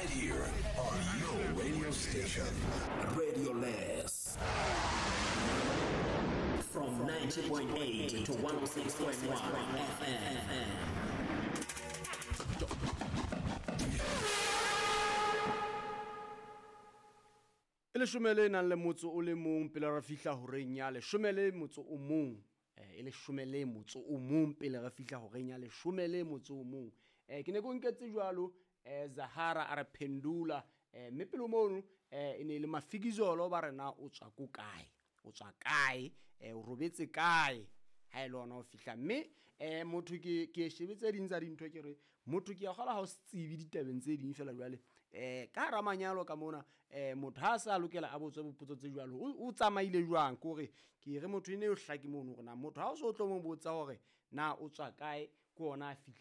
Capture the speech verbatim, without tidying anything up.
Right here on your radio station. Radio Less. From ninety point eight to one oh six point one F M. E leshome le nang le motso o le mong pele re fihla horeng ya leshome le motso o mong. Eh, e leshome le motso o mong pele re fihla horeng ya leshome le motso o mong. Eh, ke ne ke o nketse jwalo, eh, Zahara a re Pendula, eh, mme pele mono, eh, e ne e le Mafikizolo ba re na o tswa ko kae? O tswa kae? Eh, o robetse kae? Ha e le hona ho fihla. Mme, eh, motho ke, ke shebetse ding tsa dintho ke re, motho ke a kgola ha o se tsebe ditabeng tse ding feela jwale. Eh, ka hara manyalo ka mona, eh, motho ha a sa lokela a botswe bopotso tse jwalo, o, o tsamaile jwang? Ke hore ke re motho ene o hlake mono hore na motho ha o so tlo mo botsa hore na o tswa kae, ke hona a fihla.